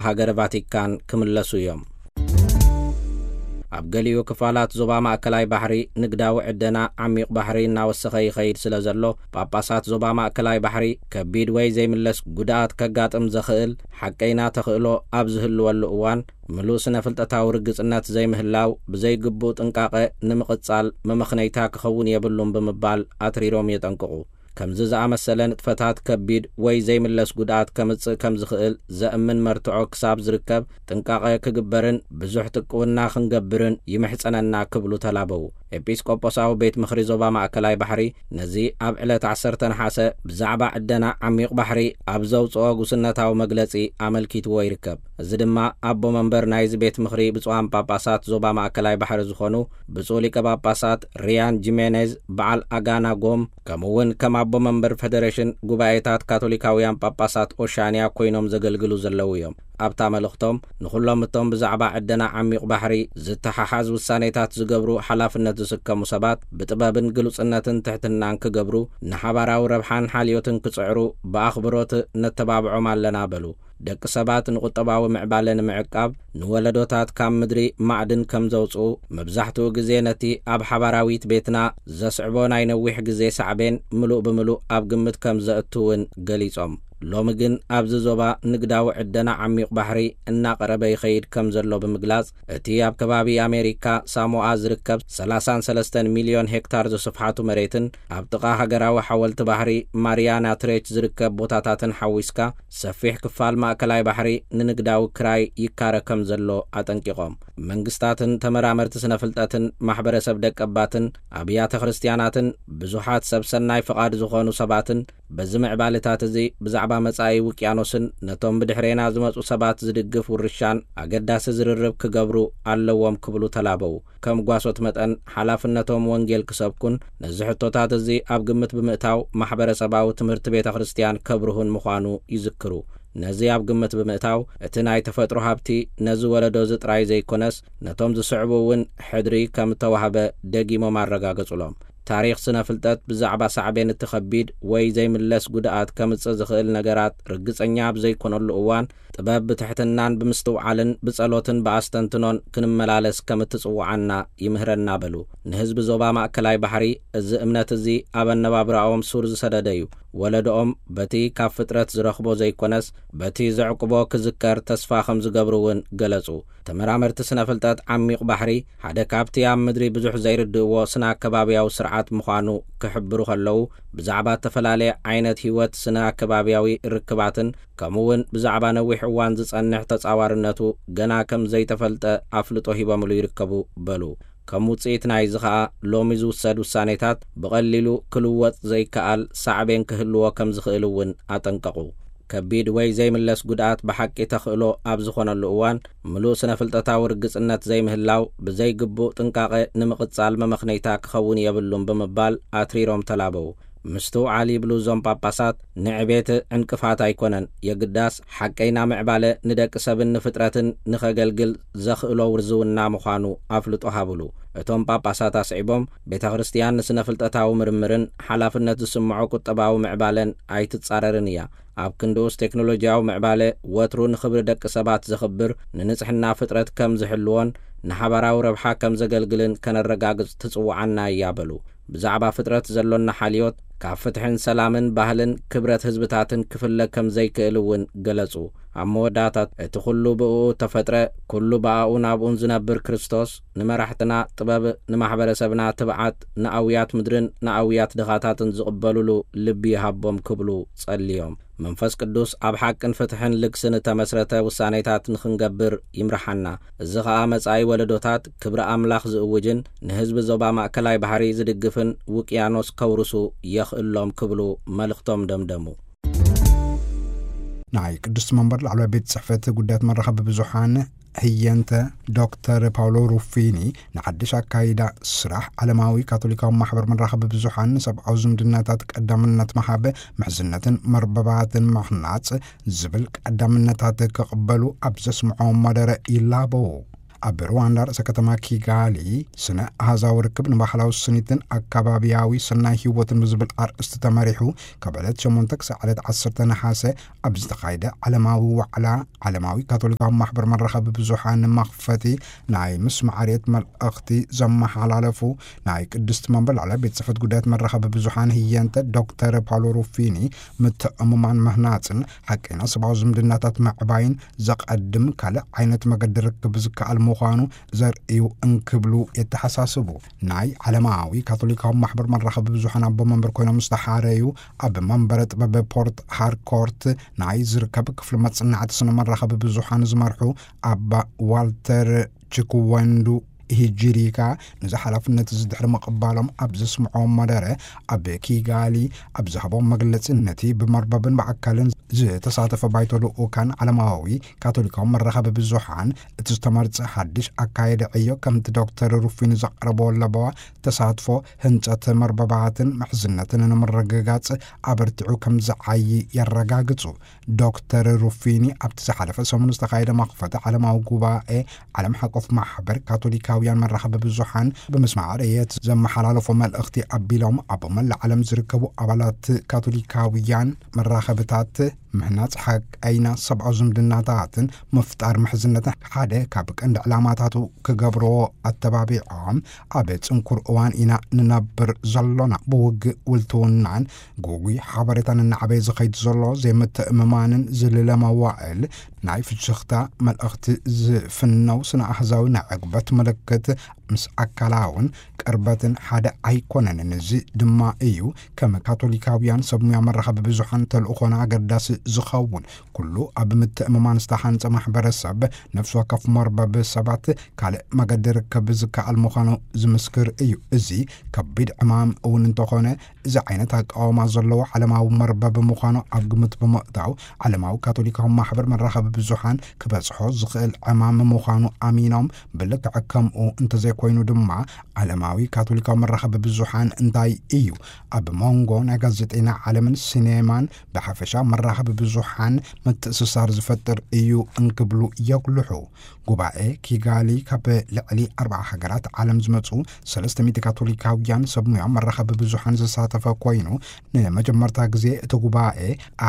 ሃገረ ቫቲካን ክምለሱ እዮም። ኣብ ገሊኡ ክፋላት ዞባ ማእከላይ ባሕሪ ንግዳዊ ዕደና ዓሚቕ ባሕሪ እናወሰኸ ይኸይድ ስለ ዘሎ፣ ጳጳሳት ዞባ ማእከላይ ባሕሪ ከቢድ ወይ ዘይምለስ ጉድኣት ከጋጥም ዘኽእል ሓቀይና ተኽእሎ ኣብ ዝህልወሉ እዋን፣ ምሉእ ስነ ፍልጠታዊ ርግጽነት ዘይምህላው፣ ብዘይግቡእ ጥንቃቐ ንምቕጻል መመኽነይታ ክኸውን የብሉን ብምባል ኣትሪሮም የጠንቅቑ። ከምዚ ዝኣመሰለ ንጥፈታት ከቢድ ወይ ዘይምለስ ጉድኣት ከምጽእ ከም ዝኽእል ዘእምን መርትዖ ክሳብ ዝርከብ ጥንቃቐ ክግበርን ብዙሕ ጥቅውና ክንገብርን ይምሕጸነና ክብሉ ተላበዉ። ኤጲስቆጶሳዊ ቤት ምኽሪ ዞባ ማእከላይ ባሕሪ ነዚ ኣብ ዕለት ዓሰርተ ነሓሰ ብዛዕባ ዕደና ዓሚቕ ባሕሪ ኣብ ዘውጽኦ ጉስነታዊ መግለጺ ኣመልኪትዎ ይርከብ። እዚ ድማ ኣቦ መንበር ናይዚ ቤት ምኽሪ ብፁዓን ጳጳሳት ዞባ ማእከላይ ባሕሪ ዝኾኑ ብፁዕ ሊቀ ጳጳሳት ሪያን ጂሜኔዝ በዓል ኣጋና ጎም፣ ከምኡ እውን ከም ኣቦ መንበር ፈደሬሽን ጉባኤታት ካቶሊካውያን ጳጳሳት ኦሻንያ ኮይኖም ዘገልግሉ ዘለዉ እዮም። ኣብታ መልእኽቶም፣ ንኹሎም እቶም ብዛዕባ ዕደና ዓሚቕ ባሕሪ ዝተሓሓዝ ውሳኔታት ዝገብሩ ሓላፍነት ዝስከሙ ሰባት ብጥበብን ግሉጽነትን ትሕትናን ክገብሩ፣ ንሓባራዊ ረብሓን ሓልዮትን ክጽዕሩ ብኣኽብሮት ነተባብዖም ኣለና በሉ። ደቂ ሰባት ንቁጠባዊ ምዕባለ ንምዕቃብ ንወለዶታት ካብ ምድሪ ማዕድን ከም ዘውጽኡ፣ መብዛሕትኡ ግዜ ነቲ ኣብ ሓባራዊት ቤትና ዘስዕቦ ናይ ነዊሕ ግዜ ሳዕቤን ምሉእ ብምሉእ ኣብ ግምት ከም ዘእቱ እውን ገሊጾም። ሎሚ ግን ኣብዚ ዞባ ንግዳዊ ዕደና ዓሚቕ ባሕሪ እናቐረበ ይኸይድ ከም ዘሎ ብምግላጽ፣ እቲ ኣብ ከባቢ ኣሜሪካ ሳሞኣ ዝርከብ ሰላሳን ሰለስተን ሚልዮን ሄክታር ዝስፍሓቱ መሬትን ኣብ ጥቓ ሃገራዊ ሓወልቲ ባሕሪ ማሪያና ትሬች ዝርከብ ቦታታትን ሓዊስካ ሰፊሕ ክፋል ማእከላይ ባሕሪ ንንግዳዊ ክራይ ይካረ ከም ዘሎ ኣጠንቂቖም። መንግስታትን ተመራመርቲ ስነ ፍልጠትን ማሕበረሰብ ደቀባትን ኣብያተ ክርስትያናትን ብዙሓት ሰብ ሰናይ ፍቓድ ዝኾኑ ሰባትን በዚ ምዕባለታት እዚ ብዛዕባ መጻኢ ውቅያኖስን ነቶም ብድሕሬና ዝመጹ ሰባት ዝድግፍ ውርሻን ኣገዳሲ ዝርርብ ክገብሩ ኣለዎም ክብሉ ተላበዉ። ከም ጓሶት መጠን ሓላፍነቶም ወንጌል ክሰብኩን ነዚ ሕቶታት እዚ ኣብ ግምት ብምእታው ማሕበረሰባዊ ትምህርቲ ቤተ ክርስትያን ከብርሁን ምዃኑ ይዝክሩ። ነዚ ኣብ ግምት ብምእታው እቲ ናይ ተፈጥሮ ሃብቲ ነዚ ወለዶ እዚ ጥራይ ዘይኮነስ ነቶም ዝስዕቡ እውን ሕድሪ ከም እተዋህበ ደጊሞም ኣረጋገጹሎም። ታሪኽ ስነ ፍልጠት ብዛዕባ ሳዕቤን እቲ ከቢድ ወይ ዘይምለስ ጉድኣት ከምጽእ ዝኽእል ነገራት ርግጸኛ ኣብ ዘይኮነሉ እዋን፣ ጥበብ ብትሕትናን ብምስትውዓልን ብጸሎትን ብኣስተንትኖን ክንመላለስ ከም እትጽውዓና ይምህረና በሉ። ንህዝቢ ዞባ ማእከላይ ባሕሪ እዚ እምነት እዚ ኣብ ኣነባብራኦም ሱር ዝሰደደ እዩ። ወለዶኦም በቲ ካብ ፍጥረት ዝረኽቦ ዘይኮነስ በቲ ዘዕቁቦ ክዝከር ተስፋ ከም ዝገብሩ እውን ገለጹ። ተመራመርቲ ስነ ፍልጠት ዓሚቕ ባሕሪ ሓደ ካብቲ ኣብ ምድሪ ብዙሕ ዘይርድእዎ ስነ ኣከባብያዊ ስርዓት ምዃኑ ክሕብሩ ከለዉ፣ ብዛዕባ እተፈላለየ ዓይነት ህይወት ስነ ኣከባብያዊ ርክባትን ከምኡ እውን ብዛዕባ ነዊሕ እዋን ዝጸንሕ ተጻዋርነቱ ገና ከም ዘይተፈልጠ ኣፍልጦ ሂቦምሉ ይርከቡ በሉ። ከም ውጽኢት ናይዚ ኸኣ ሎሚ ዝውሰድ ውሳኔታት ብቐሊሉ ክልወጥ ዘይከኣል ሳዕቤን ክህልዎ ከም ዝኽእል እውን ኣጠንቀቑ። ከቢድ ወይ ዘይምለስ ጉድኣት ብሓቂ ተኽእሎ ኣብ ዝኾነሉ እዋን፣ ምሉእ ስነ ፍልጠታዊ ርግጽነት ዘይምህላው፣ ብዘይግቡእ ጥንቃቐ ንምቕጻል መመኽነይታ ክኸውን የብሉን ብምባል ኣትሪሮም ተላበዉ። ምስትውዓል ይብሉ እዞም ጳጳሳት፣ ንዕቤት ዕንቅፋት ኣይኮነን፣ የግዳስ ሓቀይና ምዕባለ ንደቂ ሰብን ንፍጥረትን ንኸገልግል ዘኽእሎ ውርዝውና ምዃኑ ኣፍልጦ ሃብሉ። እቶም ጳጳሳት ኣስዒቦም፣ ቤተ ክርስትያን ንስነ ፍልጠታዊ ምርምርን ሓላፍነት ዝስምዖ ቁጠባዊ ምዕባለን ኣይትጻረርን እያ። ኣብ ክንድኡስ ቴክኖሎጂያዊ ምዕባለ ወትሩ ንኽብሪ ደቂ ሰባት ዘኽብር፣ ንንጽሕና ፍጥረት ከም ዝሕልዎን ንሓባራዊ ረብሓ ከም ዘገልግልን ከነረጋግጽ ትጽውዓና እያ በሉ። ብዛዕባ ፍጥረት ዘሎና ሓልዮት ካብ ፍትሕን ሰላምን ባህልን ክብረት ህዝብታትን ክፍለ ከም ዘይክእል እውን ገለጹ። ኣብ መወዳእታ እቲ ኩሉ ብእኡ ተፈጥረ፣ ኩሉ ብኣኡን ኣብኡን ዝነብር ክርስቶስ ንመራሕትና ጥበብ፣ ንማሕበረሰብና ትብዓት፣ ንኣውያት ምድርን ንኣውያት ድኻታትን ዝቕበሉሉ ልቢ ይሃቦም ክብሉ ጸልዮም። መንፈስ ቅዱስ ኣብ ሓቅን ፍትሕን ልግስን እተመስረተ ውሳኔታት ንኽንገብር ይምርሓና። እዚ ኸኣ መጻኢ ወለዶታት ክብሪ ኣምላኽ ዝእውጅን ንህዝቢ ዞባ ማእከላይ ባሕሪ ዝድግፍን ውቅያኖስ ከውርሱ የኽእሎም ክብሉ መልእኽቶም ደምደሙ። ናይ ቅድስቲ መንበር ላዕለዋይ ቤት ጽሕፈት ጉዳያት መራኸቢ ብዙሓን ህየንተ ዶክተር ፓውሎ ሩፊኒ፣ ንሓድሽ ኣካይዳ ስራሕ ዓለማዊ ካቶሊካዊ ማሕበር መራኸቢ ብዙሓን ንሰብኣዊ ዝምድናታት ቀዳምነት መሃበ፣ ምሕዝነትን መርበባትን ምሕናጽ ዝብል ቀዳምነታት ክቕበሉ ኣብ ዘስምዖ መደረ ይላበዉ። ኣብ ሩዋንዳ ርእሰ ከተማ ኪጋሊ ስነ ኣሃዛዊ ርክብ ንባህላዊ ስኒትን ኣካባቢያዊ ሰናይ ህይወትን ብዝብል ኣርእስቲ ተመሪሑ፣ ካብ ዕለት ሸሞንተ ክሳዕ ዕለት ዓሰርተ ነሓሰ ኣብ ዝተኻየደ ዓለማዊ ዋዕላ፣ ዓለማዊ ካቶሊካዊ ማሕበር መራኸቢ ብዙሓን መኽፈቲ ናይ ምስማዕ ርየት መልእኽቲ ዘመሓላለፉ ናይ ቅድስቲ መንበር ላዕለ ቤት ጽሕፈት ጉዳያት መራኸቢ ብዙሓን ህየንተ ዶክተር ፓውሎ ሩፊኒ፣ ምትእምማን ምህናጽን ሓቀይና ሰብኣዊ ዝምድናታት ምዕባይን ዘቐድም ካልእ ዓይነት መገዲ ርክብ ዝከኣል ምዃኑ ዘርእዩ እንክብሉ የተሓሳስቡ። ናይ ዓለማዊ ካቶሊካዊ ማሕበር መራኸቢ ብዙሓን ኣቦ መንበር ኮይኖም ዝተሓረዩ ኣብ መንበረ ጥበብ ፖርት ሃርኮርት ናይ ዝርከብ ክፍሊ መጽናዕቲ ስነ መራኸቢ ብዙሓን ዝመርሑ ኣባ ዋልተር ችክወንዱ ሂጂሪካ፣ ነዚ ሓላፍነት እዚ ድሕሪ ምቕባሎም ኣብ ዘስምዖም መደረ፣ ኣብ ኪጋሊ ኣብ ዝሃቦም መግለጺ፣ ነቲ ብመርበብን ብኣካልን ዝተሳተፈ ባይቶ ልኡካን ዓለማዊ ካቶሊካዊ መራኸቢ ብዙሓን፣ እቲ ዝተመርጸ ሓድሽ ኣካየዲ ዕዮ ከምቲ ዶክተር ሩፊኒ ዘቕረቦ ለበዋ ተሳትፎ ህንጸት መርበባትን ምሕዝነትን ንምርግጋጽ ኣበርቲዑ ከም ዝዓዪ የረጋግጹ። ዶክተር ሩፊኒ ኣብቲ ዝሓለፈ ሰሙን ዝተኻየደ መኽፈቲ ዓለማዊ ጉባኤ ዓለም ሓቆፍ ማሕበር ካቶሊካውያን መራኸቢ ብዙሓን ብምስማዕ ርእየት ዘመሓላለፎ መልእኽቲ ኣቢሎም፣ ኣብ መላእ ዓለም ዝርከቡ ኣባላት ካቶሊካውያን መራኸብታት ምህናጽ ሓቀይና ሰብኣዊ ዝምድናታትን ምፍጣር ምሕዝነትን ሓደ ካብ ቀንዲ ዕላማታቱ ክገብርዎ ኣተባቢዖም፣ ኣብ ጽንኩር እዋን ኢና ንነብር ዘሎና። ብውግእ ውልትውናን ግጉይ ሓበሬታን እናዓበየ ዝኸይድ ዘሎ ዘይምትእምማንን ዝልለ መዋእል ናይ ፍሽኽታ መልእኽቲ ዝፍነው ስነ ኣህዛዊ ናይ ዕግበት ምልክት ምስ ኣካላውን ቅርበትን ሓደ ኣይኮነን። እዚ ድማ እዩ ከም ካቶሊካውያን ሰብ ሙያ መራኸቢ ብዙሓን ተልእኾና ኣገዳሲ ዝኸውን። ኩሉ ኣብ ምትእምማን ዝተሓንጸ ማሕበረሰብ፣ ነፍሲ ወከፍ መርበብ ሰባት ካልእ መገዲ ርክብ ዝከኣል ምዃኑ ዝምስክር እዩ። እዚ ከቢድ ዕማም እውን እንተኾነ፣ እዚ ዓይነት ኣቃውማ ዘለዎ ዓለማዊ መርበብ ምዃኑ ኣብ ግምት ብምእታው፣ ዓለማዊ ካቶሊካዊ ማሕበር መራኸቢ ብዙሓን ክበጽሖ ዝኽእል ዕማም ምዃኑ ኣሚኖም፣ ብልክዕ ከምኡ እንተዘይኮይኑ ድማ፣ ዓለማዊ ካቶሊካዊ መራኸቢ ብዙሓን እንታይ እዩ ኣብ መንጎ ናይ ጋዜጠኛ ዓለምን ሲኔማን ብሓፈሻ መራኸቢ ብዙሓን ምትእስሳር ዝፈጥር እዩ እንክብሉ የጉልሑ። ጉባኤ ኪጋሊ ካብ ልዕሊ ኣርብዓ ሃገራት ዓለም ዝመጹ ሰለስተ ሚእቲ ካቶሊካውያን ሰብ ሙያ መራኸቢ ብዙሓን ዝሳተፈ ኮይኑ፣ ንመጀመርታ ግዜ እቲ ጉባኤ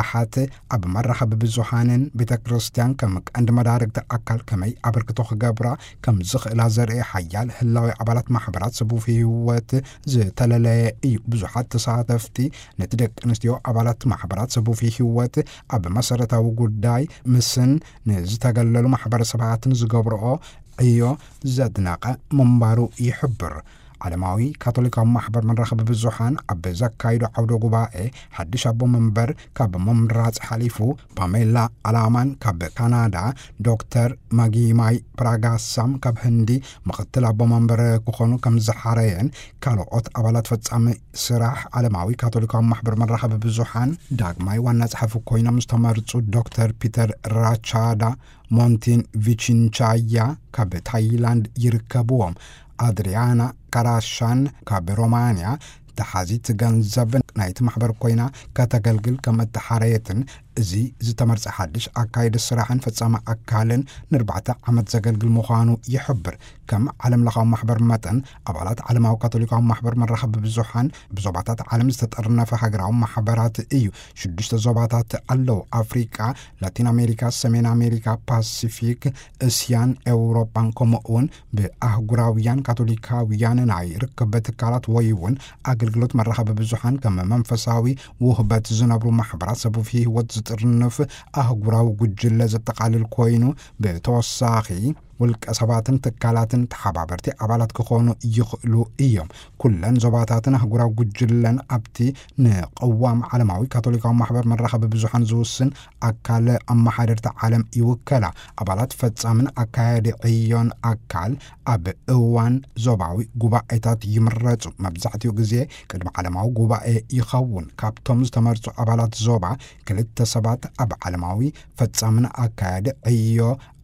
ኣሓት ኣብ መራኸቢ ብዙሓንን ቤተ ክርስቲያን ከም ቀንዲ መዳርግቲ ኣካል ከመይ ኣበርክቶ ክገብራ ከም ዝኽእላ ዘርኢ ሓያል ህላዊ ኣባላት ማሕበራት ሰቡፍ ህይወት ዝተለለየ እዩ። ብዙሓት ተሳተፍቲ ነቲ ደቂ ኣንስትዮ ኣባላት ማሕበራት ሰቡፍ ህይወት ኣብ መሰረታዊ ጉዳይ ምስን ንዝተገለሉ ማሕበረሰባትን ዝገብርኦ ዕዮ ዘድነቐ ምንባሩ ይሕብር። ዓለማዊ ካቶሊካዊ ማሕበር መራኸቢ ብዙሓን ኣብ ዘካይዶ ዓውደ ጉባኤ፣ ሓድሽ ኣቦ መንበር ካብ ምምራጽ ሓሊፉ፣ ፓሜላ ኣላማን ካብ ካናዳ፣ ዶክተር ማጊማይ ፕራጋሳም ካብ ህንዲ ምኽትል ኣቦ መንበር ክኾኑ ከም ዝሓረየን፣ ካልኦት ኣባላት ፈጻሚ ስራሕ ዓለማዊ ካቶሊካዊ ማሕበር መራኸቢ ብዙሓን ዳግማይ ዋና ጸሓፊ ኮይኖም ዝተመርጹ ዶክተር ፒተር ራቻዳ ሞንቲን ቪቺንቻያ ካብ ታይላንድ ይርከብዎም። ኣድሪያና ካራሻን ካብ ሮማንያ፣ ተሓዚት ገንዘብ ናይቲ ማሕበር ኮይና ከተገልግል ከም እተሓረየትን፣ እዚ ዝተመርጸ ሓድሽ ኣካይዲ ስራሕን ፈጻሚ ኣካልን ንኣርባዕተ ዓመት ዘገልግል ምዃኑ ይሕብር። ከም ዓለም ለኻዊ ማሕበር መጠን፣ ኣባላት ዓለማዊ ካቶሊካዊ ማሕበር መራኸቢ ብዙሓን ብዞባታት ዓለም ዝተጠርነፈ ሃገራዊ ማሕበራት እዩ። ሽዱሽተ ዞባታት ኣለዉ። ኣፍሪቃ፣ ላቲን ኣሜሪካ፣ ሰሜን ኣሜሪካ፣ ፓሲፊክ፣ እስያን ኤውሮጳን፣ ከምኡ እውን ብኣህጉራውያን ካቶሊካውያን ናይ ርክብ ትካላት ወይ እውን ኣገልግሎት መራኸቢ ብዙሓን ከም መንፈሳዊ ውህበት ዝነብሩ ማሕበራት ሰቡፍ ህይወት ዝጥርንፍ ኣህጉራዊ ጉጅለ ዘጠቓልል ኮይኑ፣ ብተወሳኺ ውልቀ ሰባትን ትካላትን ተሓባበርቲ ኣባላት ክኾኑ ይኽእሉ እዮም። ኩለን ዞባታትን ኣህጉራዊ ጉጅለን ኣብቲ ንቅዋም ዓለማዊ ካቶሊካዊ ማሕበር መራኸቢ ብዙሓን ዝውስን ኣካል ኣመሓደርቲ ዓለም ይውከላ። ኣባላት ፈጻምን ኣካያዲ ዕዮን ኣካል ኣብ እዋን ዞባዊ ጉባኤታት ይምረጹ። መብዛሕትኡ ግዜ ቅድሚ ዓለማዊ ጉባኤ ይኸውን። ካብቶም ዝተመርጹ ኣባላት ዞባ፣ ክልተ ሰባት ኣብ ዓለማዊ ፈጻምን ኣካያዲ ዕዮ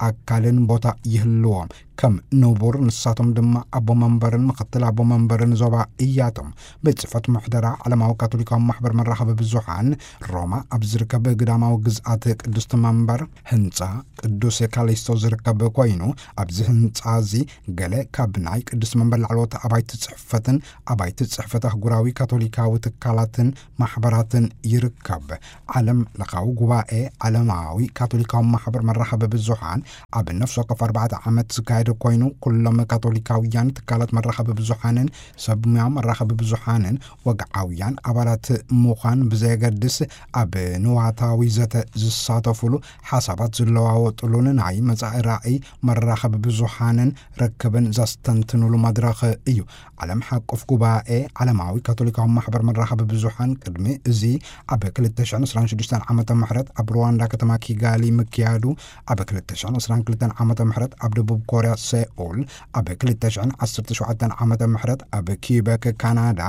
ኣካልን ቦታ ይህልዎም። ከም ንቡር፣ ንሳቶም ድማ ኣቦ መንበርን ምኽትል ኣቦ መንበርን ዞባ እያቶም። ቤት ጽሕፈት ምሕደራ ዓለማዊ ካቶሊካዊ ማሕበር መራኸቢ ብዙሓን ሮማ ኣብ ዝርከብ ግዳማዊ ግዝኣት ቅዱስ መንበር ህንጻ ቅዱስ ካሊስቶ ዝርከብ ኮይኑ፣ ኣብዚ ህንጻ እዚ ገለ ካብ ናይ ቅዱስ መንበር ላዕለዎት ኣባይቲ ጽሕፈትን ኣባይቲ ጽሕፈት ኣህጉራዊ ካቶሊካዊ ትካላትን ማሕበራትን ይርከብ። ዓለም ለኻዊ ጉባኤ ዓለማዊ ካቶሊካዊ ማሕበር መራኸቢ ብዙሓን ኣብ ነፍሲ ወከፍ ኣርባዕተ ዓመት ዝካየድ ኮይኑ፣ ኩሎም ካቶሊካውያን ትካላት መራኸቢ ብዙሓንን ሰብ ሙያ መራኸቢ ብዙሓንን ወግዓውያን ኣባላት ምዃን ብዘየገድስ፣ ኣብ ንዋታዊ ዘተ ዝሳተፉሉ፣ ሓሳባት ዝለዋወጥሉን ናይ መጻኢ ራእይ መራኸቢ ብዙሓንን ርክብን ዘስተንትኑሉ መድረኽ እዩ። ዓለም ሓቆፍ ጉባኤ ዓለማዊ ካቶሊካዊ ማሕበር መራኸቢ ብዙሓን ቅድሚ እዚ ኣብ ክልተ ሽሕን ዕስራን ሽዱሽተን ዓመተ ምህረት ኣብ ሩዋንዳ ከተማ ኪጋሊ ምክያዱ፣ ኣብ ክልተ ሽሕን ዕስራን ክልተን ዓመተ ምህረት ኣብ ደቡብ ኮርያ ሴኡል፣ ኣብ ክልተ ሽሕን ዓሰርተ ሸውዓተን ዓመተ ምህረት ኣብ ኪበክ ካናዳ፣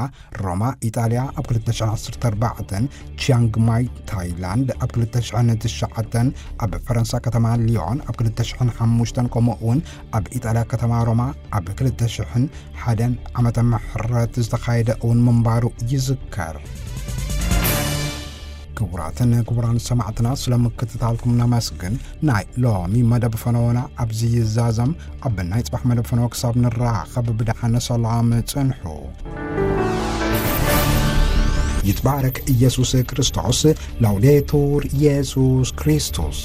ሮማ ኢጣልያ ኣብ ክልተ ሽሕን ዓሰርተ ኣርባዕተን፣ ቺያንግ ማይ ታይላንድ ኣብ ክልተ ሽሕን ትሽዓተን፣ ኣብ ፈረንሳ ከተማ ሊዮን ኣብ ክልተ ሽሕን ሓሙሽተን፣ ከምኡ እውን ኣብ ኢጣልያ ከተማ ሮማ ኣብ ክልተ ሽሕን ሓደን ዓመተ ምህረት ዝተኻየደ እውን ምንባሩ ይዝከር። ክቡራትን ክቡራን ሰማዕትና፣ ስለ ምክትታልኩም ነመስግን። ናይ ሎሚ መደብ ፈነወና ኣብዚ ይዛዘም። ኣብ ናይ ጽባሕ መደብ ፈነወ ክሳብ ንራኸብ ብደሓን ሰላም ጽንሑ። ይትባረክ ኢየሱስ ክርስቶስ። ላውዴቱር ኢየሱስ ክርስቶስ።